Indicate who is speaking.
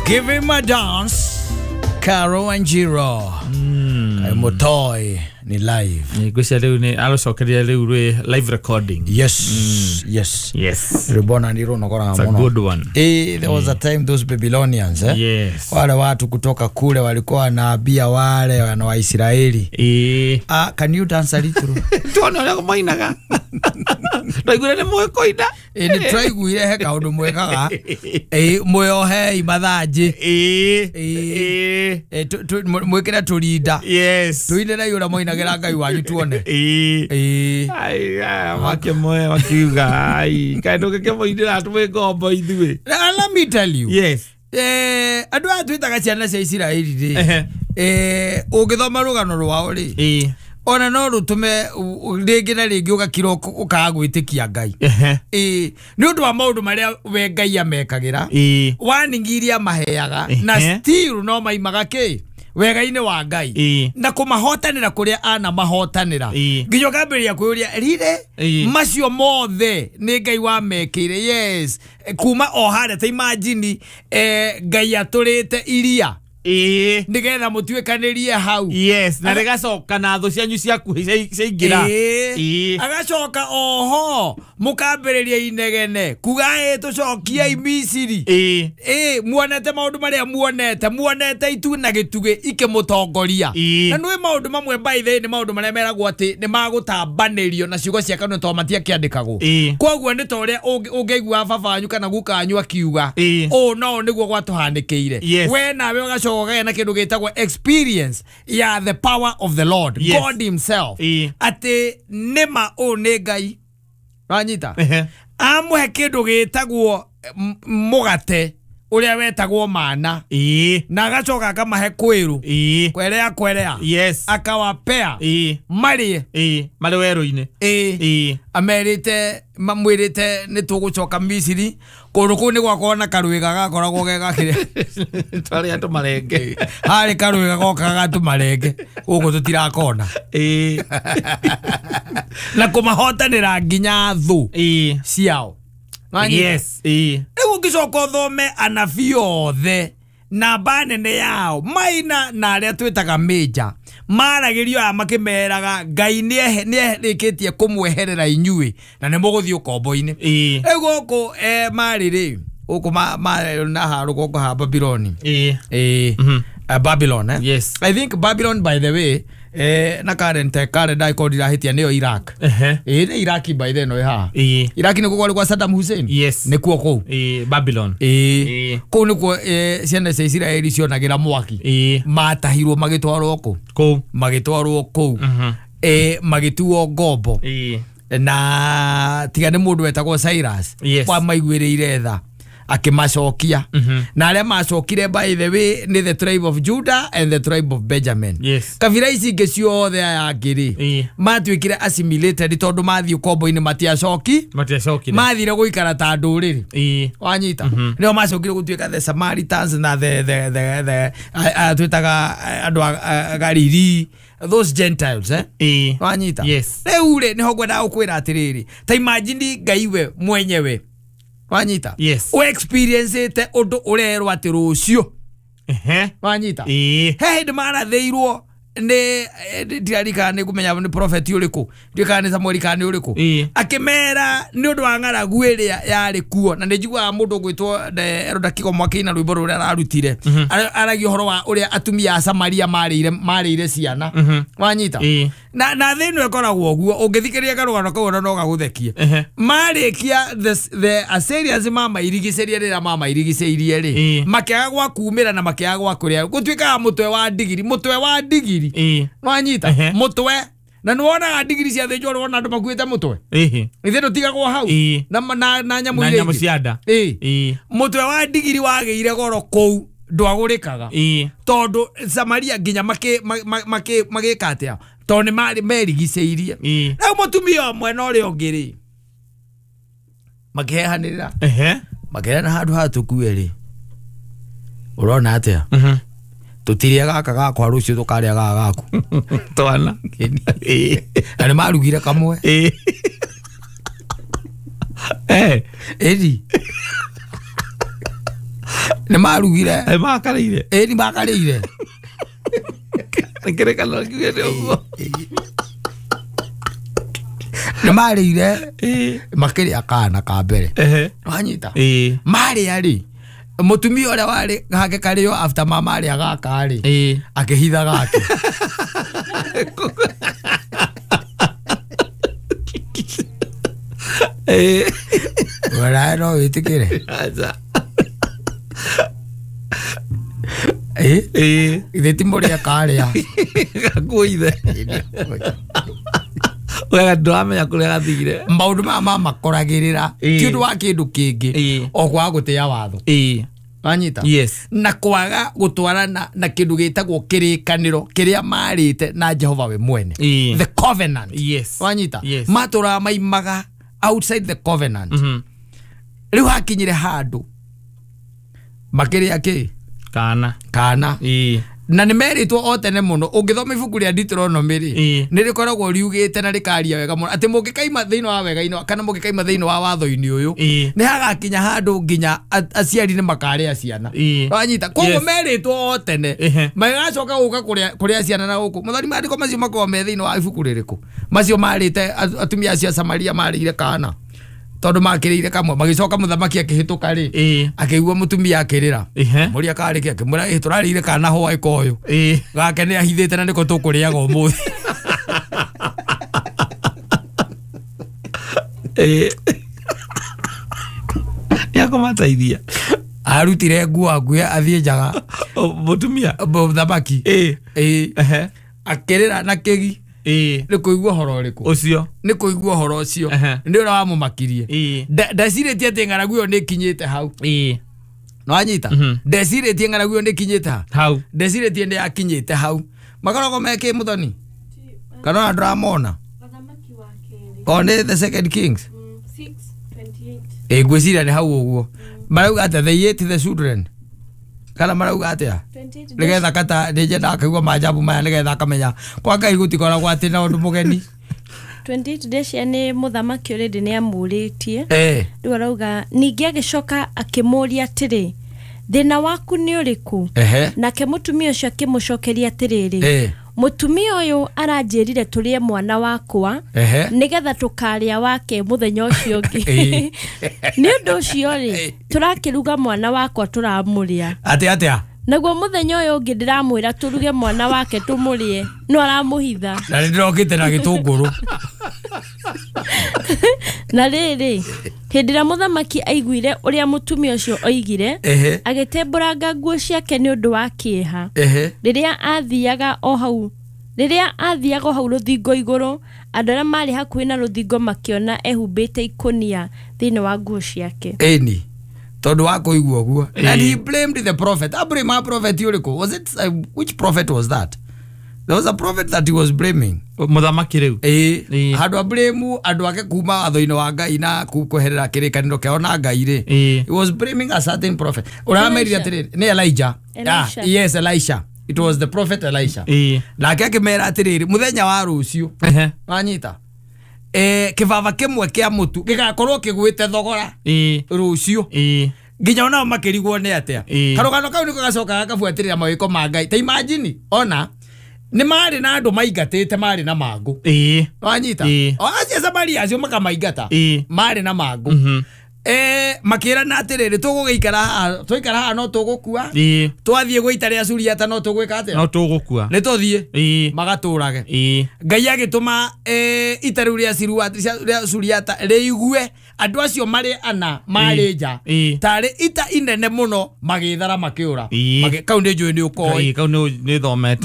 Speaker 1: Give him a dance. Caro and Jiro. Mutoi ni live.
Speaker 2: Ngwĩciria rĩu nĩ arũcokeria rĩu rwĩ live recording.
Speaker 1: Yes. Yes.
Speaker 2: Yes.
Speaker 1: Ribona ndiro nokora
Speaker 2: It's a
Speaker 1: muno.
Speaker 2: good one.
Speaker 1: There was a time those Babylonians, eh?
Speaker 2: Yes.
Speaker 1: Wale watu kutoka kule walikuwa wanaambia wale wana wa Israeli. Ah, can you dance a little?
Speaker 2: Tuone ũrĩa mainaga. Twaiguire nĩ mũĩ kũina.
Speaker 1: Nĩ twaiguire he kaũndũ mwĩkaga. Mwĩohei mathanjĩ. Mwĩkĩre tũrinda.
Speaker 2: Yes.
Speaker 1: Tũinĩrei ũrĩa moinagĩra Ngai wanyu tuone.
Speaker 2: Makĩmoe makiuga ai kaĩ ndũngĩkĩmũinĩra twĩ ngombo ithuĩ.
Speaker 1: Let me tell you.
Speaker 2: Yes.
Speaker 1: Andũ aya twĩtaga ciana cia Isiraeli rĩ, ũngĩthoma rũgano rwao rĩ, ona no rũtũme rĩngĩ na rĩngĩ ũgakira ũkaga gwĩtĩkia Ngai. Nĩ ũndũ wa maũndũ marĩa we Ngai amekagĩra, warning iria maheaga, na still no maimaga kĩ wega-inĩ wa Ngai, na kũmahotanĩra kũrĩa anamahotanĩra, nginya ũkambĩrĩria kwĩyũria rire macio mothe nĩ Ngai wamekĩire. Yes, kuma o harĩa ta imagine Ngai atũrĩte iria nigetha mũtuĩkanĩrie hau.
Speaker 2: Yes, na rĩgacoka na thũ cianyu ciakuhĩ ciaingĩra.
Speaker 1: Agacoka oho mũkambĩrĩria inegene kuga tũcokiei Misiri. Muonete maũndũ marĩa muonete itu na gĩtugĩ ikĩmũtongoria. Na nĩ maũndũ mamwe by the way nĩ maũndũ marĩa meragwo atĩ nĩ magũtambanĩrio na ciugo cia kanua tondũ matiakĩandĩkagwo. Koguo nĩ ta ũrĩa ũngĩigua baba wanyu kana guka wanyu akiuga ũũ no nĩguo gwatũhanĩkĩire. We nawe ũgacoka na kindu gitagwo experience ya the power of the Lord.
Speaker 2: Yes.
Speaker 1: God himself. Ati nima o nĩ Ngai wanyita amũhe kindu gitagwo mugate uria wetagwo mana, na agacoka akamahe kwiru kwerea kwerea.
Speaker 2: Yes.
Speaker 1: Akawapea marĩe
Speaker 2: marĩ werũ-inĩ.
Speaker 1: Amerite mamwĩrĩte nĩ tũgũcoka Misiri kũndũ kũu nĩ gwakorwo na karwĩga gakoragwo ge gakĩrĩa
Speaker 2: twarĩa tũmarenge.
Speaker 1: Harĩ karwĩga gokaga gatũmarenge gũkũ tũtirakona. Na kũmahotanĩra nginya thũ ciao.
Speaker 2: Yes.
Speaker 1: Rĩu ũngĩcoka ũthome anabii othe namba nene yao maina na arĩa twĩtaga major maragĩrio aya makĩmeraga Ngai nĩerĩkĩtie kũmweherera inyuĩ na nĩ mũgũthiĩ ũkombo-inĩ. Rĩu gũkũ marĩ rĩ gũkũ na ha rũgongo ha Babylon. Babylon, eh?
Speaker 2: Yes.
Speaker 1: I think Babylon by the way na current icon ndirahitia nĩyo Iraq. Nĩ Iraq by the no ha. Iraq nĩkuo kwarĩ kwa Saddam Hussein.
Speaker 2: Yes.
Speaker 1: Nĩkuo kũu.
Speaker 2: Babylon.
Speaker 1: Kũu nĩkuo ciana cia Isiraeli cionagĩra mwaki. Matahirwo magĩtwarwo kũ?
Speaker 2: Kũu.
Speaker 1: Magĩtwarwo kũu. Magĩtuo ngombo. Na tiga nĩ mũndũ wetagwo Cyrus.
Speaker 2: Yes.
Speaker 1: Wamaiguĩrĩire tha akimacokia. Na arĩa macokire by the way nĩ the tribe of Judah and the tribe of Benjamin.
Speaker 2: Yes.
Speaker 1: Kabira ici ingĩ ciothe aya angĩ rĩ matuĩkire assimilated tondũ mathiĩ ũkombo-inĩ matiacokire mathire gũikara ta ndũrĩrĩ. Wanyita nĩo macokire gũtuĩka the Samaritans na the twĩtaga andũ a Galili, those Gentiles, eh? Wanyita.
Speaker 2: Yes.
Speaker 1: Rĩu rĩ nĩho ngwendaga gũkwĩra atĩrĩrĩ, ta imagine Ngai we mwenyewe wanyita.
Speaker 2: Yes.
Speaker 1: O experience ite undu urerwo ati rucio. Wanyita. He hindi marathĩirwo nĩ ndirarikana nĩ ngũmenya nĩ prophet ũrĩkũ, ndirikana nĩ Samuel kana nĩ ũrĩkũ, akĩmera nĩ ũndũ wa ng'aragu ĩrĩa yarĩ kuo, na nĩ njiguaga mũndũ ũgwĩtwo Elder Kigo Mwakĩina rwĩmbo rũrĩa ararutire aragia ũhoro wa ũrĩa atumia a Samaria marĩire ciana. Wanyita. Na thĩ ĩno ĩkoragwo ũguo, ũngĩthikĩrĩria karũgano kau ona no gagũthekie. Marĩkia the Assyrians mamairigicĩrie rĩrĩa mamairigicĩirie rĩ, makĩaga gwa kumĩra na makĩaga gwa kũrĩa, gũtuĩkaga mũtwe wa ndigiri, mũtwe wa ndigiri. Wanyita. Mũtwe na nĩwonaga ndigiri ciathĩnjwo nĩwona andũ makuĩte mũtwe. Ithe ndũtigagwo hau na nyamũ iria
Speaker 2: ingĩ cia nda.
Speaker 1: Mũtwe wa ndigiri wagĩire goro kũu ndwagũrĩkaga tondũ Samaria nginya magĩka atĩa tondũ nĩ marĩ merigicĩirie. Rĩu mũtumia ũmwe na ũrĩa ũngĩ rĩ makĩhehanĩrĩra makĩrena handũ haha tũkue rĩ ũrona atĩa tũtirĩa gaka gakwa rũciũ tũkarĩa gaka gaku
Speaker 2: twana.
Speaker 1: Na nĩ marugire kamwe. Ĩri. Nĩ marugire.
Speaker 2: Makarĩire.
Speaker 1: Ĩĩ nĩ makarĩire.
Speaker 2: Kĩrĩkanĩro kiugĩte ũguo.
Speaker 1: Nĩ marĩire makĩrĩa kana ka mbere. Wanyita. Marĩa rĩ mũtumia ũrĩa warĩ gake karĩo after mama arĩa gaka rĩ akĩhitha gake. Wala no wĩtĩkĩre. Ithe ti mũrĩa karĩa.
Speaker 2: Gakuithe. Wega ndũramenya kũrĩa gathire.
Speaker 1: Maũndũ maya mamakoragĩrĩra ti ũndũ wa kĩndũ kĩngĩ o kwaga gũtĩa watho. Wanyita?
Speaker 2: Yes.
Speaker 1: Na kwaga gũtwarana na kĩndũ gĩtagwo kĩrĩkanĩro kĩrĩa marĩte na Jehova we mwene. The covenant.
Speaker 2: Yes.
Speaker 1: Wanyita?
Speaker 2: Yes.
Speaker 1: Matũraga maimaga outside the covenant. Rĩu hakinyire handũ makĩrĩa kĩ?
Speaker 2: Kana.
Speaker 1: Kana. Na nĩ merĩtwo o tene mũno ũngĩthoma ibuku rĩa Deuteronomy rĩ nĩ rĩkoragwo riugĩte na rĩkaria wega mũno atĩ mũngĩkaima thĩinĩ wa wega-inĩ kana mũngĩkaima thĩinĩ wa watho-inĩ ũyũ nĩ hagakinya handũ nginya aciari nĩ makarĩa ciana. Wanyita? Koguo merĩtwo o tene magacoka gũka kũrĩa ciana na gũkũ mũthoni maandĩko macio makoragwo me thĩinĩ wa ibuku rĩrĩkũ macio marĩte atumia acio a Samaria marĩire kana tondũ makĩrĩire kamwe magĩcoka mũthamaki akĩhĩtũka rĩ akĩigua mũtumia akĩrĩra mũria karĩ kĩ akĩmwĩra tũrarĩire kana hwaĩ koyũ gake nĩ ahithĩte na nĩko tũkũrĩaga ũmũthĩ.
Speaker 2: Nĩakũmateithia.
Speaker 1: Arutire nguo akuhe athiĩ njaga
Speaker 2: mũtumia
Speaker 1: mũthamaki akĩrĩra na kĩgi nĩ kũigua ũhoro ũrĩkũ
Speaker 2: ũcio
Speaker 1: nĩ kũigua ũhoro ũcio nĩ ũrĩa wamũmakirie. Ndecirĩtie atĩ ng'aragu ĩyo nĩ ĩkinyĩte hau. Nĩwanyita? Ndecirĩtie ng'aragu ĩyo nĩ ĩkinyĩte
Speaker 2: hau.
Speaker 1: Ndecirĩtie nĩ yakinyĩte hau. Makoragwo me kĩ mũthoni kana ona ndũramona o nĩ the second Kings 6:28. Ngwĩciria nĩ hau ũguo marauga atĩa they ate the children kana marauga atĩa nigetha kata nĩnyendaga kaigua manjabu maya nigetha akamenya kwa Ngai gũtikoragwo atĩ na ũndũ mũgeni.
Speaker 3: 28 Decia nĩ mũthamaki already nĩ amũrĩtie. Rĩu arauga ningĩ agĩcoka akĩmũũria atĩrĩ thĩna waku nĩ ũrĩkũ? Nake mũtumia ũcio akĩmũcokeria atĩrĩrĩ mũtumia ũyũ aranjĩrire tũrĩe mwana wakwa nĩgetha tũkarĩa wake mũthenya ũcio ũngĩ. Nĩ ũndũ ũcio rĩ tũrakĩruga mwana wakwa tũramũrĩa.
Speaker 1: Atĩa atĩa?
Speaker 3: Naguo mũthenya ũyũ ũngĩ ndĩramwĩra tũruge mwana wake tũmũrĩe no aramũhitha.
Speaker 1: Na nĩ ndĩrokĩte na gĩtũngũrũ.
Speaker 3: Na rĩrĩ hĩndĩ ĩrĩa mũthamaki aiguire ũrĩa mũtumia ũcio oigire agĩtembũranga nguo ciake nĩ ũndũ wa kĩeha. Rĩrĩa athiaga o hau rũthingo igũrũ andũ arĩa marĩ hakuhĩ na rũthingo makĩona ehumbĩte ikũnia thĩinĩ wa nguo ciake.
Speaker 1: Ĩni tondu wa kuigua guo. And he blamed the prophet. Abraham a prophet yuriko. Was it which prophet was that? There was a prophet that he was blaming.
Speaker 2: Mũthamaki rĩu.
Speaker 1: Handũ ablame andũ ake kuma watho-inĩ wa Ngai na kweherera kĩrĩkanĩro kĩao na Ngai rĩ. He was blaming a certain prophet. Ũramerire atĩrĩrĩ nĩ Elijah. Yes, Elisha. It was the prophet Elisha. Nake akĩmera atĩrĩrĩ mũthenya wa rũciũ. Wanyita? Kĩbaba kĩmwe kĩa mũtu gĩgakorwo kĩgwĩte thogora rũciũ nginya onao makĩrigwo nĩ atĩa. Karũgano kau nĩko gacokaga gabuatĩrĩra mawĩko ma Ngai. Ta imagine ona nĩ marĩ na andũ maingatĩte marĩ na mangũ. Wanyita? O acio Samaria acio makamaingata marĩ na mangũ. Makĩrana atĩrĩrĩ tũgũgĩikara haha twaikara haha no tũgũkua twathiĩ gwĩ ita rĩa Suriata no tũgwĩka atĩa no
Speaker 2: tũgũkua
Speaker 1: nĩ tũthiĩ magatũrage. Ngai agĩtũma ita rĩu rĩa Suriata rĩigue andũ acio marĩ ana marĩ nja tarĩ ita inene mũno magĩthara makĩũra. Kau nĩ njũĩ nĩ ũkoĩ.
Speaker 2: Kau nĩ thomete.